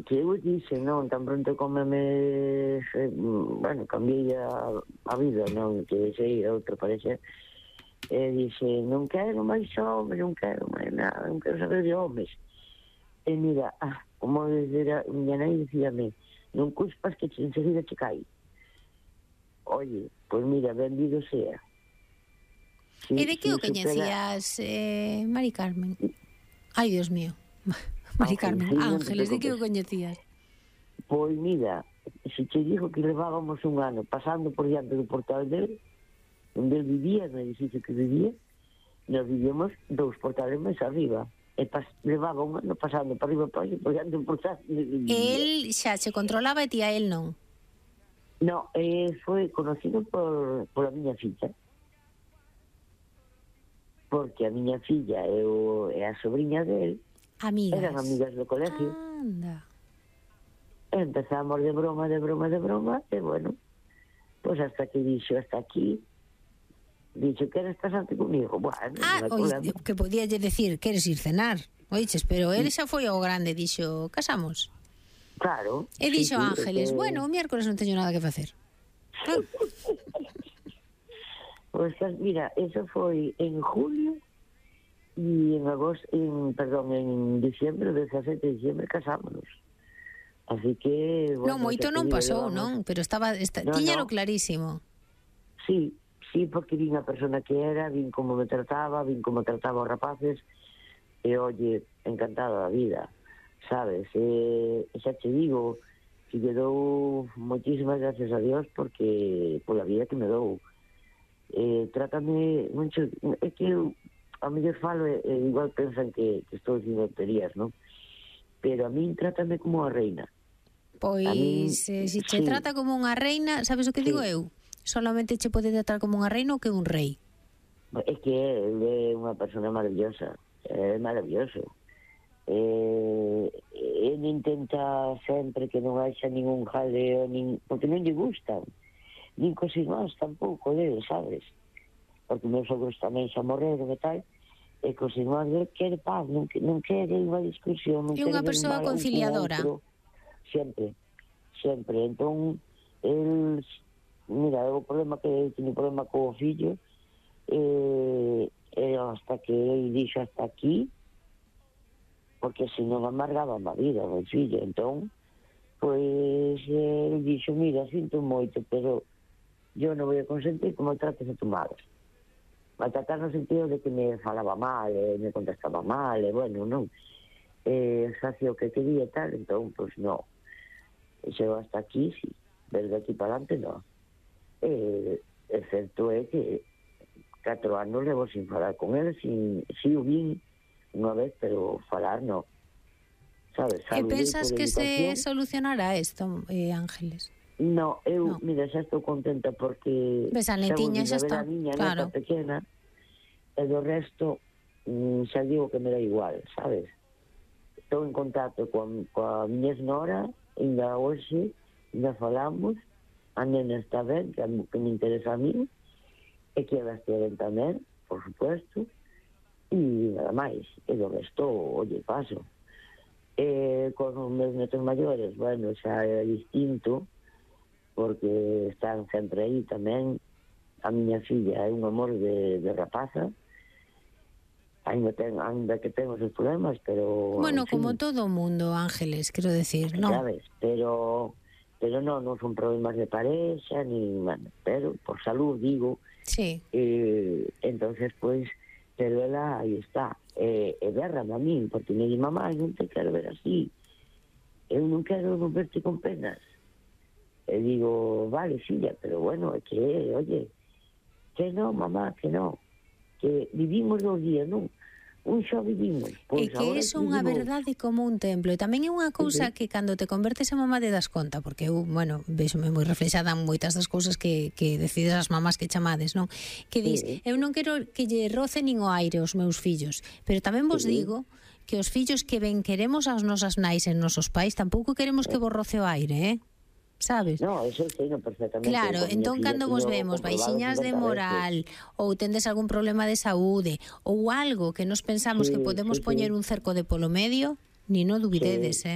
que eu dixe, non, tan pronto como cambiei a vida, non, que sei a outra parexa, dixe, non quero máis homes, non quero máis nada, non quero saber de homes. E mira, como desde miña nai dicíame, non cuspas que enseguida te cai. Oye, pois mira, benvido sea. E de que o coñecías, Mari Carmen? Ai, Dios mío. Mari Carmen, Ángeles, de que o coñecías? Pois mira, se te digo que levábamos un ano pasando por diante do portal del, onde el vivía, no edificio que vivía, nos vivíamos 2 portales máis arriba. E levaba un ano pasando para arriba por diante do portal. El xa se controlaba e ti a el non? No, foi conocido por a miña filla. Porque a miña filla e a sobrinha del eran amigas do colegio. Anda. Empezamos de broma, e bueno, pues hasta que dixo, hasta aquí, dixo, queres casarte comigo? Bueno, que podía decir, queres ir cenar? Oiches, pero él xa foi ao grande, dixo, casamos. Claro. E dixo Ángeles, bueno, o miércoles non teño nada que facer. Pois, mira, eso foi en julio e en diciembre, 17 de diciembre, casámonos. Así que... Bueno, non, moito non pasou, non? Pero tiñalo clarísimo. Sí, porque vin a persona que era, vin como me trataba, vin como trataba os rapaces, e, oye, encantada da vida, sabes? Xa te digo que lle dou moitísimas gracias a Dios porque pola vida que me dou. Trátame mucho, é que eu a mellor falo igual pensan que estou dicindo tonterías, non? Pero a min trátame como a reina. Pois, se che trata como unha reina, sabes o que digo eu? Solamente che pode tratar como unha reina ou que un rei. É que é unha persona maravillosa, é maravilloso. Ele intenta sempre que non haxa ningún jaleo, porque non lle gustan, nin cos irmáns tampouco dele, sabes? Porque meus sogros tamén xa morreron e tal, e cos irmáns dele quere paz, non quere unha discusión, non quere unha persoa conciliadora. Sempre. Entón, mira, o problema que teño problema co fillo, hasta que ele dixo hasta aquí, porque senón amargaba a vida do fillo. Entón, pois, ele dixo, mira, sinto moito, pero yo non vou a consentir como trates a tu madre. A tratar no sentido de que me falaba mal, me contestaba mal, bueno, non. Hacía o que quería e tal, entón, pois, non. Xeo hasta aquí, sí. Desde aquí para adelante, non. Excepto é que 4 anos levo sin falar con ele, si o vin unha vez, pero falar non. Sabes? E pensas que se solucionará isto, Ángeles? No, mira, xa estou contenta porque ves a netiña xa está, a miña claro, neta pequena, e do resto xa digo que me dá igual, sabes? Estou en contacto coa miña nora, ainda hoxe, ainda falamos, a nena está ben, que me interesa a mí, e que ela está ben tamén, por supuesto, e nada máis. E do resto, oye, paso. Con os meus netos maiores, bueno, xa é distinto, porque están sempre aí tamén. A miña filla é un amor de rapaza, ainda que ten os seus problemas, pero... Bueno, como todo o mundo, Ángeles, quero decir, non? Sabes, pero non son problemas de parexa, pero por salud, digo. Sí. Entonces, pois, pero ela aí está. Berrame a min, porque me di, mamá, non te quero ver así. Eu non quero verte con penas. E digo, vale, filla, pero bueno, é que, oye, que non, mamá, que non. Que vivimos 2 días, non? Un xa vivimos. E que é unha verdade como un templo. E tamén é unha cousa que cando te convertes en mamá te das conta, porque eu, bueno, vexome moi reflexada en moitas das cousas que decides as mamás que chamades, non? Que dis, eu non quero que lle roce nin o aire aos meus fillos, pero tamén vos digo que os fillos que ben queremos as nosas nais e nosos pais, tampouco queremos que vos roce o aire, sabes? No, eso sei perfectamente. Claro, entón cando vos vemos baixiñas de moral ou tendes algún problema de saúde ou algo que nos pensamos que podemos poñer un cerco de polo medio, ni no dubidedes,